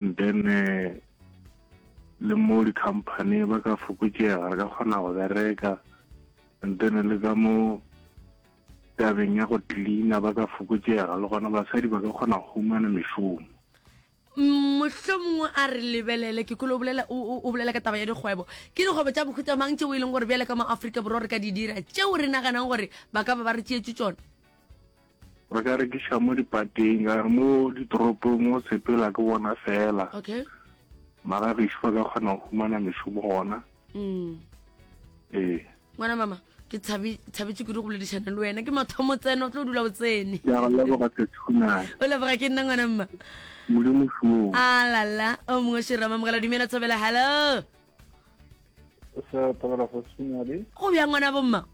Then le mo di-company ba ka fokotšega, re ka kgona go bereka. And then le ka mo tabeng ya go cleaner ba ka fokotšega, le gona basadi ba ka kgona go humana mešomo. Mohlomongwe a re lebelele, ke kolo o bolela, o, o bolela ka taba ya dikgwebo. Ke dikgwebo tša mohuta mang tšeo e leng gore bjale ka mo Afrika Borwa re ka di dira, tšeo re naganang gore ba ka ba ba re tšeetše tšona? Re ka rekiša mo dipateng, ka re mo ditoropong o sepela ke bona fela. Okay. Mara gešo ba ka kgona go humana mešomo gona. Mm. Ee. Ngwana mama, ke thabi thabetše kudu go boledišana le wena. Ke mathomo tseno, o tlo dula o tsene. Ke a go leboga Sethunane. O leboga ke nna ngwana mma. Modimo šoo. A la la, o mongwe šira mamogela dumela thobela hello. Sa thobela Sethunane. Go bjang ngwana bomma?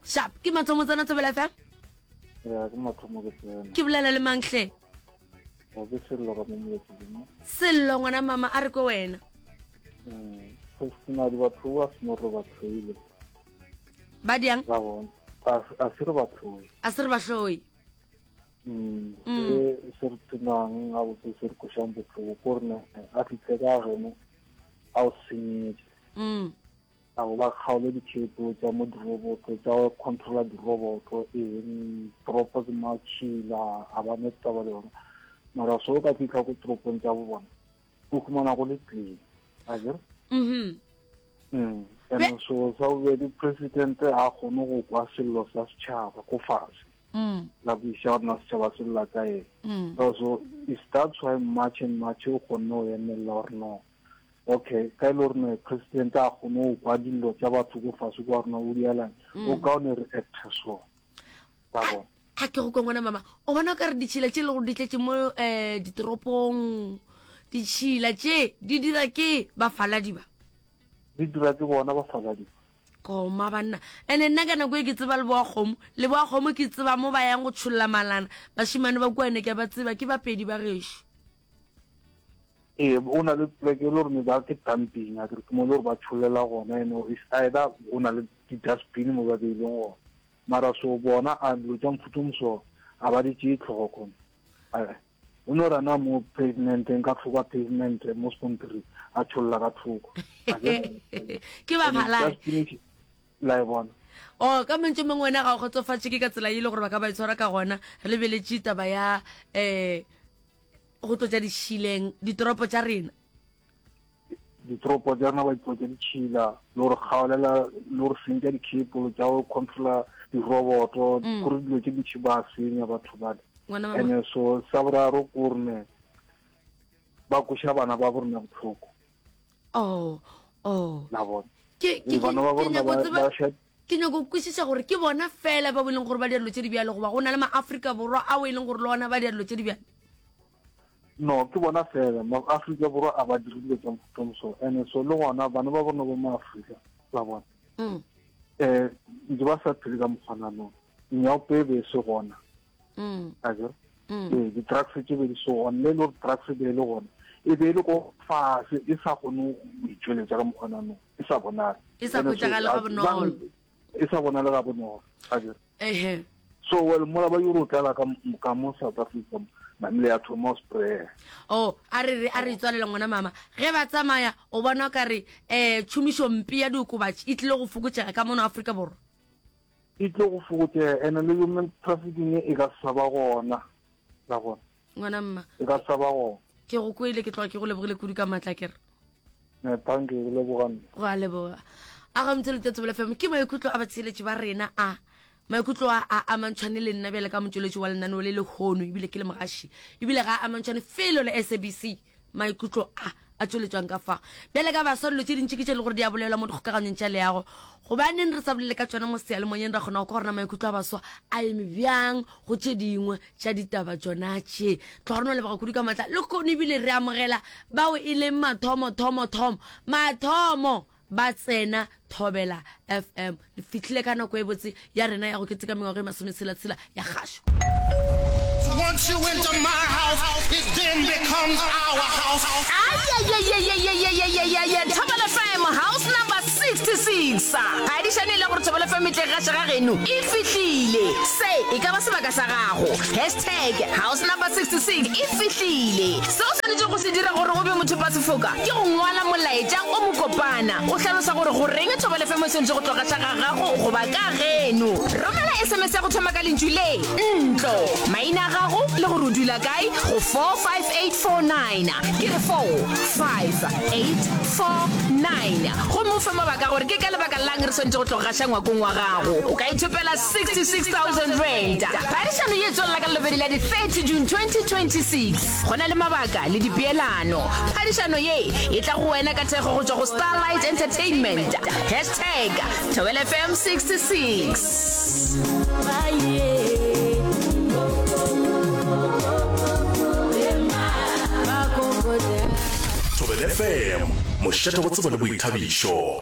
Sharp, ke mathomo tsena Thobela FM? Ya, ke mathomo ke tsena. Ke bolela le mang hle? Ga ke sello ka mo moleteng. Sello ngwana mama a re ko wena. Mm, se na di batho ba se mo re ba tlhoile. Ba diang? Ba bona. A se re ba tlhoile. A se re ba tlhoile. Mm. mm. Se se re tsenang a botse se re košang botlhoko ko rena a fitlhe ka geno a o senyetse. Mm. A go ba kgaole ditšhepo tša mo diroboto tša go controla diroboto eng toropo ke matšhila a ba ne taba le yona mara so o ka fitlha ko toropong tša bo bona o humana go le clean a kere mm-hmm. mm. and so sa bobedi president a kgone go kwa sello sa setšhaba ko fase mm. la buisa gore na setšhaba se lla ka eng mm. so it starts why march and march o kgonne go emelela gore no Okay, ka e le gore ne president a kgone go kwa dillo tša batho ko fase kwa rona o dialang, mm. o kaone re acte so. Ba bona. Ga ke go kwa ngwana mama, o bona ka re ditšhila tše le gore di tletše mo um ditoropong, ditšhila tše di dira ke bafaladi ba. Di dira ke bona bafaladi ba. Koma banna. Ene nna ka nako e ke tseba leboa kgomo, leboa kgomo ke tseba mo ba yang go tšholla malana, bašemane ba kua ene ke a ba tseba, ke bapedi ba gešo. Ee, o na le pleke e le gore me ba ke dumping a ke mo le gore ba tsholela gona ene is either o na le di-dustbin mo ba beileng gona mara so bona a dilo tša mofuta moso a ba di tšee tlhogo kgone o no rana mo pavementeng ka thoko pavement mo spontiri a tšholla ka thoko ke ba phala la e bona o oh, ka mantšu mangwe wena ga o kgotsofatše ke ka tsela e le gore ba ka ba itshwara ka gona re lebeletše taba ya um go tlotša ditšhileng ditoropo tša rena ditoropo tša rena ba ditlotša ditšhila le gore kgaolela le gore sentša dikhepolo tša go controla diroboto mm. gore dilo tše dintšhi ba senya batho bale ene so sa boraro ko rene ba koša bana ba borena botlhoko oh oh la bona ke ke bana ba borena ba Ke nyako go kwešiša gore ke bona fela bao e leng gore ba dira dilo tše di bjalo goba go na le ma-Afrika Borwa ao e leng gore le ona ba dira dilo tše di bjalo? No, ke bona fela. Ma-Afrika Borwa a ba dire dilo tša mohuta o so. And so le gona bana ba bona ba ma-Afrika la bona. Mm. Eh, ntse ba sa phele ka mokgwananong. Nyaope e be e se gona. Mm. A kere? Mm. Ee, di-drugs tše be di se gona. Le e le gore drugs e be e le gona. E be e le ko fase, e sa kgone go itšweletša ka mokgwananong. E sa bonale. E sa hwetšagale ga bonolo. E sa bonale ga bonolo. A kere? Ehe. So well mola ba yoro tlala ka ka mo South Africa namile ya thoma spray. Oh, a re re a re tswalela ngwana mama. Ge ba tsamaya o bona ka re eh tšhomišo mpe ya diokobatši e tlile go fokotšega ka mono Afrika Borwa. E tlile go fokotšega ene le human trafficking e ka sa ba gona. La gona. Ngwana mma. E ka sa ba gona. Ke go kwele ke tloga ke go lebogile kudu ka matla ke re. Eh, thank you, leboga nna. Go a leboga. A ga motse lete Thobela FM ke maikutlo a batsheletši ba rena a maikutlo a a amantšhwane le nna bjale ka motšweletši wa lenaneo le lehono ebile ke le mogaši ebile ga a amantšhwane felo le SABC maikutlo a a tšweletšwang ka fa bjale ka baswa dilo tše dintši ke tše le gore di a bolelwa mo dikgokaganyong tša leago gobaneng re sa bolele ka tšona mo seyalemoyeng ra kgona go kwa gorena maikutlo a baswa a eme bjang go tše dingwe tša ditaba tšona tše. Tloga re no leboga kudu ka matla. Lehono ebile re amogela bao e leng mathomo, thomo, thomo, mathomo ba tsena Thobela FM. Le fihlile ka nako e botse ya rena ya go keteka mengwaga e masometshela-tshela ya kgašo. Once you enter my house, it then becomes our house. Ayayayayayayayayaya Thobela FM house number 6. 66. Phadišano e le gore Thobela FM e tle gaša ga geno e fihlile. Se e ka ba sebaka sa gago. Hashtag house number 66 e fihlile. Se o swanetšego go se dira gore o be mothopasefoka ke go ngwala molaetša o mokopana o hlalosa gore goreng Thobela FM e swanetše go tlo gaša ga gago goba ka geno. Romela SMS ya go thoma ka lentšu le, ntlo, maina a gago le gore o dula kae go 45849. Ke re 45849. Gomme o fe mabaka gore ke ka lebaka la'ng re swanetše go tlo gaša ngwakong wa gago. O ka ithopela R66,000. Phadišano ye e tswelela ka Lelobedi la di 30 June 2026. Go na le mabaka le dipeelano. Phadišano ye e tla go wena ka thekgo go tšwa go Starlight Entertainment. Hashtag Thobela FM 66. Thobela FM, mošate wa tsebo le boithabišo.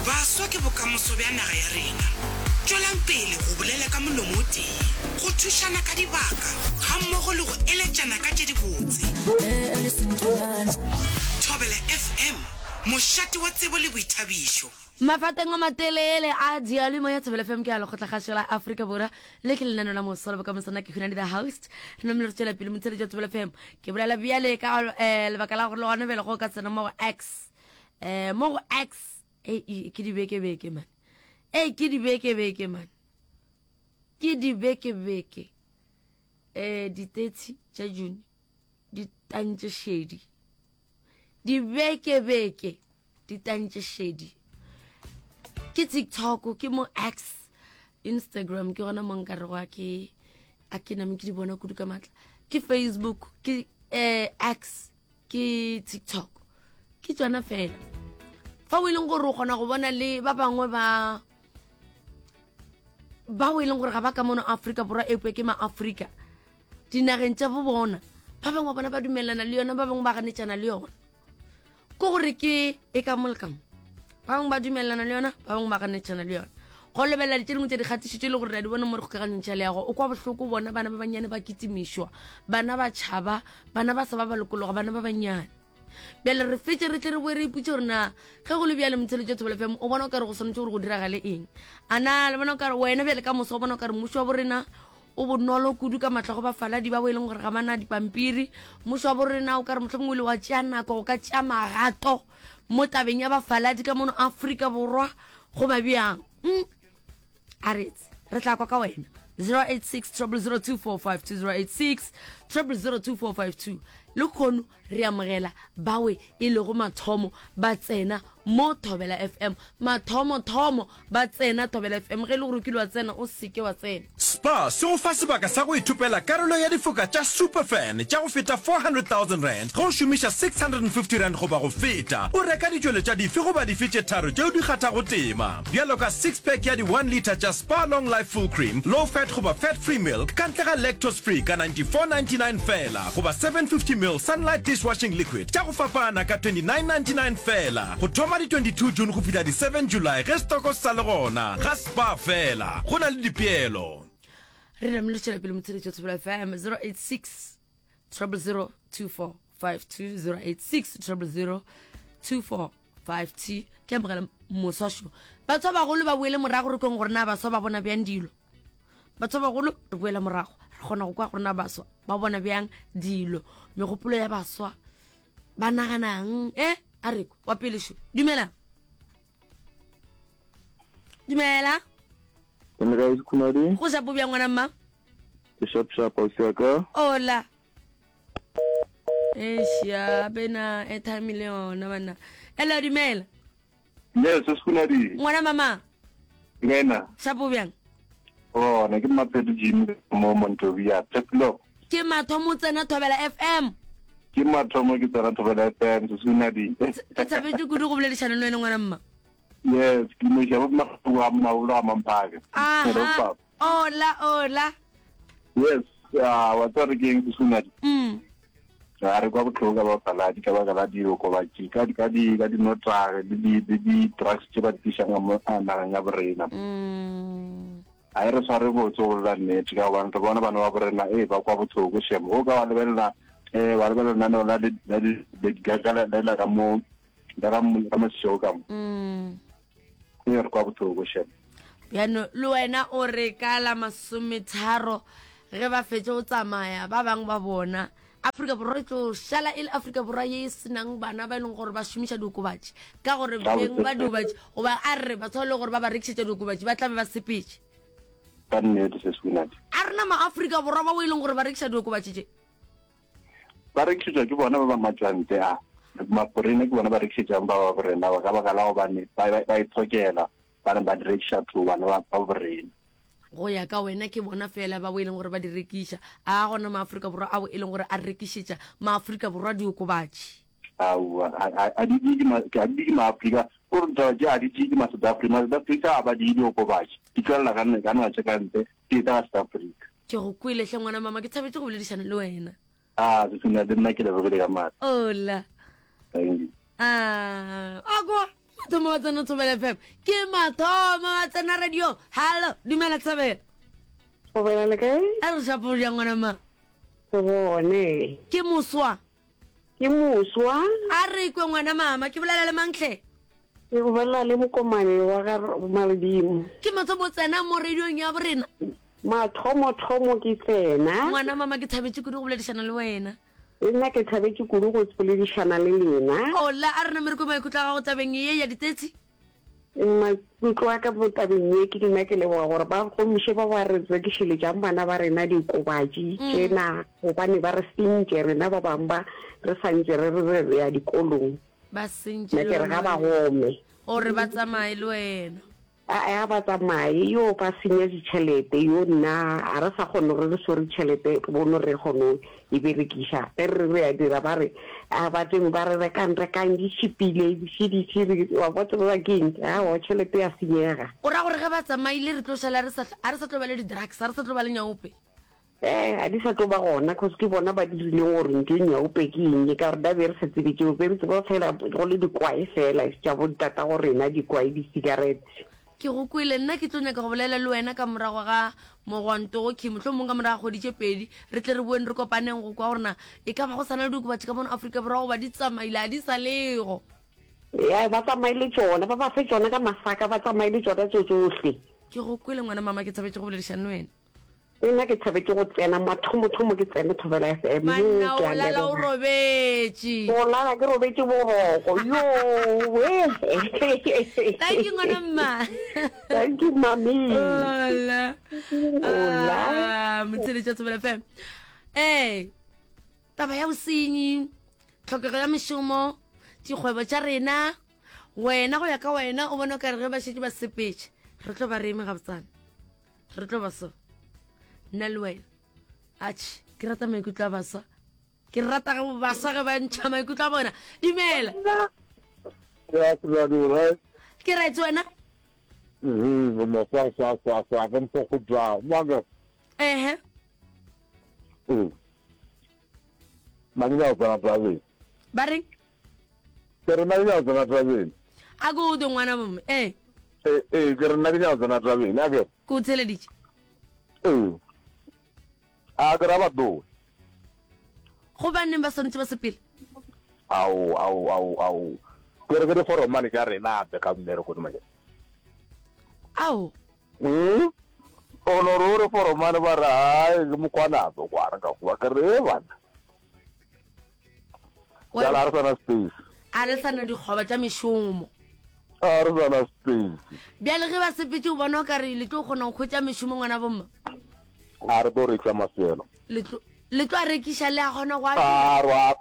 Baswa ke bokamoso bja naga ya rena. Tšwelang pele go bolela ka molomo o tee, go thušana ka dibaka gammogo le go eletšana ka tše dibotse. Thobela FM, mošate wa tsebo le boithabišo. Mafateng a matelele a diyalemoya ya Thobela FM ke a Lekgotlakgašo la Afrika Borwa. Le ke lenaneo la moso la bokamoso. Nna ke Hunadi the host. Re namile re tšwela pele motheeletši wa Thobela FM. Ke bolela bjale ka eh, lebaka la gore le gona bjale go ka tsena mo go X. Eh, mo go X e e, ke dibeke-beke man. E ke dibeke-beke man. Ke dibeke-beke. Eh, di-30 tša June di tantše šedi. Dibeke-beke di tantše šedi. Ke TikTok, ke mo X, Instagram ke gona mo nka rego a ke a ke name ke di bona kudu ka matla. Ke Facebook, ke eh, X ke tiktok ke tsona fela fa o e leng gore o kgona go bona le ba bangwe ba ba o e leng gore ga ba ka mono Afrika Borwa epe ke ma-Afrika dinageng tša bo bona ba bangwe bona ba dumelana le yona ba bangwe ba ganetšana le yona ko gore ke e ka mo le ka mo ba bangwe ba dumelelana le yona ba bangwe ba ganetšana le yona go lebelela tše dingwe tša dikgatišo tše e le gore ra di bona mo re kgokaganyong tša leago o kwa bohloko bona bana ba bannyane ba kitimišwa bana ba tšhaba bana ba sa ba ba lokologa bana ba bannyane bjale re fetse re tle re boe re iputse gore na ge go le bjale motsheletso thobela fm o bona o kare go swanetše gore go diragale eng a na le bona o kare wena bjale ka moso o bona o kare mmušo wa borena o bonolo kudu ka matla go bafaladi ba bo e leng gore ga bana dipampiri mmušo wa borena o kare mohlomongwe o ile wa tšea nako go ka tšea magato mo tabeng ya bafaladi ka mono Afrika Borwa goba bjang mm. a retse re tla kwa ka wena 086 0002452 086 0002452 le kgono re amogela bawe e lego mathomo ba tsena mo Thobela FM mathomo-thomo ba tsena Thobela FM ge e le gore o kile wa tsena o seke wa tsena. Spar se go fa sebaka sa go ithopela karolo ya difoka tša Superfan tša go feta R400,000 ge o šomiša R650 goba go feta o reka ditšweletšwa dife goba dife tše tharo tšeo di kgathago tema, bjalo ka six-pack ya di one litre tša Spar Long Life Full Cream, Low Fat goba Fat Free Milk ka ntle ga Lactose Free ka R94.99 feela goba 750ml Sunlight Dishwashing Liquid tša go fapana ka R29.99 feela go thoma di 22 June go fihla di 7 July ge stoko se sa le gona ga Spar feela. Go na le dipeelo. Re namile tšwela pele motsheletšo wa Thobela FM 086 000 2452 086 000 2452 ke amogela moswa šo batho ba bagolo ba boele morago re kweng gore na baswa ba bona bjang dilo batho ba bagolo re boela morago re kgona go kwa gore na baswa ba bona bjang dilo megopolo ya baswa ba naganang e a re wa pele šo dumela dumela Ke le kae Sekhumadi? Go shapo bjang ngwana mma? Ke sharp sharp ausi wa ka. Ola. Eish ya bena airtime le yona banna. Hello dumela. Yes, Sekhumadi. Ngwana mama. Ngena. Shapo bjang? Gona ke Mapheto Jimmy mo Montovia. Tshepelo. Ke mathomo tsena Thobela FM. Ke mathomo ke tsena Thobela FM Sekhumadi. Ke thabetse kudu go boledišana le wena ngwana mma. Yes, ke mo shaba mma wa mma o la mamphaka. Aha. Ola ola. Yes, ah wa tsare ke eng Sekhumadi? Mm. Ga re kwa botlhoko ka bafaladi ka baka la diokobatši ka di ka di ka dinotagi le di le di drugs tše ba di tlišang ka mo nageng ya borena. Mm. A e re sware botse go bolela nnete ka gobane re bona bana ba borena ee ba kwa bohloko shem. O ka wa lebelela eh wa lebelela lenaneo la la di Lady Gaga le la ka mo. Le ga ga Mashego ka mo. Mm. E re kwa bohloko shem. Bjano le wena o re ka la masometharo ge ba fetše go tsamaya ba bangwe ba bona Afrika Borwa e tlo šala e le Afrika Borwa ye e senang bana ba e leng gore ba šomiša diokobatši ka gore beng ba diokobatši goba a re batho ba e leng gore ba ba rekišetša diokobatši ba tla be ba sepetše. Ka nnete se Swinadi. A rena ma-Afrika Borwa bao e leng gore ba rekiša diokobatši tše? Ba rekišetšwa ke bona ba ba matšwantle a. Maforena ke bona ba rekišetšang ba ba borena ba ka baka la gobane ba ba itshokela ba re ba di rekiša to bana ba ba borena. Go ya ka wena ke bona fela ba bo e leng gore ba di rekiša. A gona maAfrika Borwa ao e leng gore a rekišetša maAfrika Borwa diokobatši? Aowa, a di tšee ke a di tšee ke maAfrika, ko re ditaba tše a di tšee ke ma South Africa. Ma South Africa a ba di diokobatši, di tšwelela ka ka naga tše ka ntle, di etla ka South Africa. Ke go kwele hle ngwana mama, ke thabetše go boledišana le wena. Ah, Sesina, le nna ke lebogile ka maatla. Ola. Thank you. Ah, a kwa mathomo wa tsena Thobela FM. Ke mathomo wa tsena radio. Hallo, dumela Thobela. Thobela le kae? A re shapo ja ngwana ma. Go bone. Ke moswa. Ke moswa. A re kwe ngwana mama, ke bolela le mang hle? Ke go bolela le mokomane wa ga Maledimo. Ke mathomo tsena mo radiong ya borena. Mathomothomo ke tsena. Ngwana mama ke thabetše kudu go boledišana le wena. Le nna ke thabetše kudu go boledišana le lena. Ola, a re namere kwe maikutlo a gago tabeng ye ya ditetsi. Maikutlo a ka mo tabeng ye ke nna ke leboga gore ba gomiše ba ba re rekišeletšang bana ba rena diokobatši tšena gobane ba re sentše rena ba bangwe ba re sa ntše re re re ya dikolong. Ba sentše Nna le ke re wena ga ba gome. Gore ba tsamaye le wena. A a ba tsamaye yo ba senya ditšhelete yo nna a re sa kgone gore re swere tšhelete bono re kgone e berekiša ge re re a dira ba re a ba teng ba re rekang rekang di tšhipile di di wa bo tseba ke eng aowa tšhelete ya senyega. O ra gore ge ba tsamaile re tlo šala re sa a re sa tlo ba le di drugs a re sa tlo ba le nyaope. Eh, ga di sa tlo ba gona cause ke bona ba dirileng gore ntho e nyaope ke eng ka gore da be re sa tsebe tšeo be re tseba fela go le dikwae fela tša bo tata go rena dikwae di-cigarettes. Ke go kwele, nna ke tlo nyaka go bolela le wena ka morago ga mogwanto go khimo, mohlomong ka morago ga kgwedi tše pedi, re tle re boeng re kopaneng go kwa gore na e ka ba go sa na le diokobatši ka mono Afrika Borwa goba di tsamaile a di sa lego. Ya, ba tsamaile tšona, ba ba fe tšona ka masaka, ba tsamaile tšona tšo tšohle. Ke go kwele ngwana mama, ke thabetše go boledišana le wena. Le nna ke thabetše go tsena mathomothomo ke tsene Thobela FM. Yo, Banna ke o a lala o leboga. robetše. Go lala ke robetše boroko. Yo, we. Thank you ngwana mma. Thank you mami. Hola. Hola. Ah, motsheletši wa Thobela FM. Eh, taba ya bosenyi, tlhokego ya mešomo, dikgwebo tša rena, wena go ya ka wena o bona o ka re ge ba šetše ba sepetše, re tlo ba re eme gabotsana. Re tlo ba so. Nna le wena. Atšhe, ke rata maikutlo a baswa. Ke rata ge baswa ge ba ntšha maikutlo a bona. Dumela. Ya ke Ke right wena? Mhm, mo sa sa sa sa ke mpho go tla. Maka. Ehe. Mm. Mangina o tsena tabeng. Ba reng? Ke re nna ke nyaka go tsena tabeng. A ko utlwe ngwana bomme. Ee. Ee, ee, ke re nna ke nyaka go tsena tabeng. A ke. Ke o theleditše. Ee. A ke ra ba tloge. Gobaneng ba swanetše ba sepele? Ao, ao, ao, ao. Ke re ke diforomane tša rena ape ka mmereko di manyana. Ao. Mm. O no re o re foromane ba re hai ke mokwana ape kwana ka goba ke re e bana. Jala a re sana space. A re sana dikgoba tša mešomo. A re sana space. Bjale ge ba sepetše o bona o ka re le tlo kgona go hwetša mešomo ngwana bomma? A re tlo rekiša mafelo. Le tlo le tlo a rekiša le a kgona go a A rwa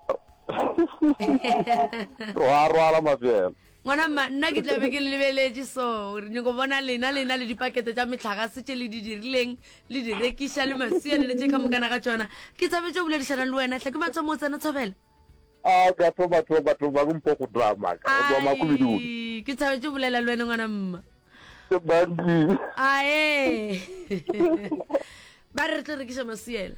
rwa rwala mafelo. Ngwana mma, nna ke tla be ke le lebeletše so, re nyako bona lena lena le dipakete tša mehlagase tše le di dirileng, le di rekiša le masea le le tše ka mokana ga tšona. Ke thabetše go boledišana le wena hle, ke mathomo o tsena thobela. A ka thoma thoma thoma ke mpho go drama ka go tswa makubidudi. Ai, ke thabetše go bolela le wena ngwana mma. Ke banki. Ae. Ba re re tlo rekiša masiela.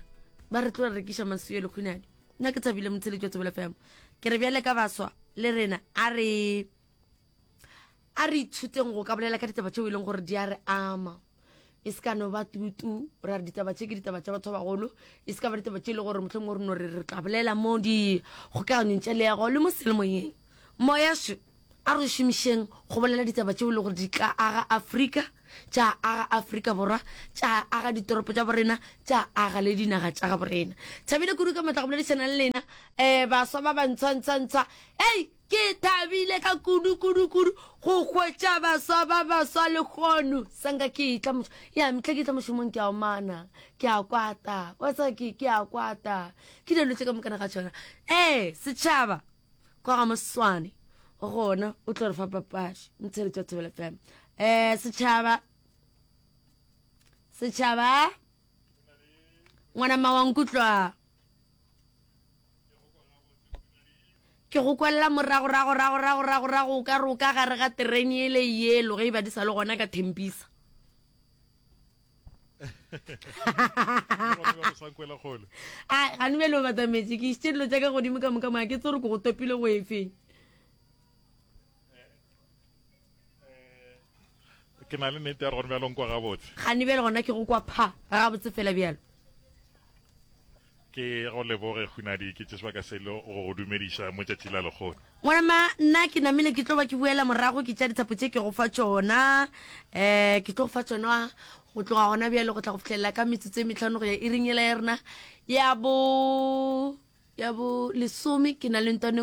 Ba re tlo rekiša masielo khunadi. Nna ke thabile motheletši wa Thobela FM. Ke re bjale ka baswa le rena a re a re ithuteng go ka bolela ka ditaba tšeo e leng gore di a re ama e se ka no ba tutu ra re ditaba tše ke ditaba tša batho ba bagolo e se ka ba ditaba tše e le gore mohlomongwe re no re re tla bolela mo dikgokaganyong tša leago le mo selemoyeng. Moya šo, a re o šomišeng go bolela ditaba tšeo e le gore di tla aga Afrika, tša aga Afrika Borwa, tša aga ditoropo tša borena, tša aga le dinaga tša gabo rena. Thabile kudu ka matla go boledišana le lena, um baswa ba bantshwa-ntshwa-ntshwa. Hei, ke thabile ka kudu kudu kudu go hwetša baswa ba baswa lehono. Sanka ke etla moš-, ya, mehla ke etla mošomong ke a omana, ke a kwata, wa tseba ke, ke a kwata. Ke dilo tše ka mokana ga tšona. Ee, setšhaba. Kwa ga Moswane gona o tlo re fa papadi motheletši wa Thobela FM. Eh setšhaba setšhaba ngwana mma wa nkutlwa ke go kwalela morago rago rago rago rago rago o ka re o ka gare ga terene ele yelo ge e ba di sa le gona ka thempisa a gane bjale o batametse ke išitše dilo tša ka godimo ka moka moya ke tse gore ke go topile go efeng ke na le nnete ya gore gone bjalo nkwa gabotse gane bjale gona ke go kwa pha gabotse fela bjalo Ke go leboge Hunadi, ke tše sebaka se le go go dumediša mo tšatši la lekgono. Ngwanama, nna ke namile ke tlo ba ke boela morago ke tša dithapo tše ke go fa tšona. Um ke tlo go fa tšona go tloga gona bjale go tla go fihlelela ka metsotso e metlhano go ya iring yela ya rena ya bo ya bo lesome ke na le ntwane.